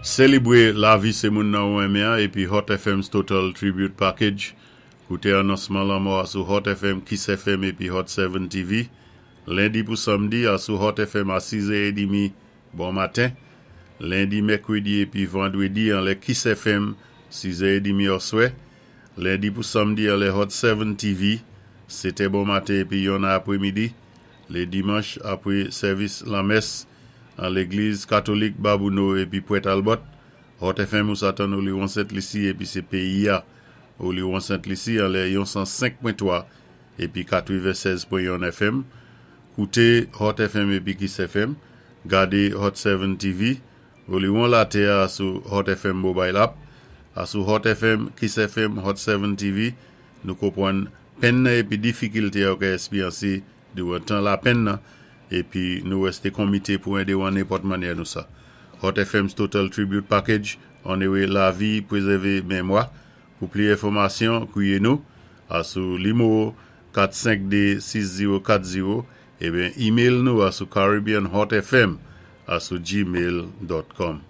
Sélibwé lavi sé moun nan ou renmen-an épi Hot FM's Total Tribute Package. Kouté anonsman lanmò a sou Hot FM, Kiss FM épi Hot 7 TV. Lendi pou samdi a sou Hot FM a 6 è édmi bon maten. Lendi, mèkwédi épi vandwédi anlè Kiss FM 6 è édmi oswè. Lendi pou samdi anlè Hot 7 TV 7 è bon maten épi 1 è apwémidi. Lé dimanch apwé sèvis lanmès an légliz katolik Babouno épi Pwèt Albòt, Hot FM ou sa tann Oliwon Sent Lisi épi sé péyi-a Oliwon Sent Lisi anlè yon 105.3 épi 96.1 FM. Kouté Hot FM épi Kiss FM, gadé Hot 7 TV, Oliwon Latè-a sou Hot FM Mobile App, a sou Hot FM, Kiss FM, Hot 7 TV, nou konpwann penn nan épi difikilté ou ka èspéryansé diwan tan lapenn nan épi nou wèsté konmité pou édé ou an nenpòt mannyè nou sa. Hot FM's Total Tribute Package, onoré lavi, pwézèvé mémwa. Pou pli enfòmasyon, kwiyé nou a sou nimewo 452 6040 ébyen email nou a sou caribbeanhotfm a sou gmail.com.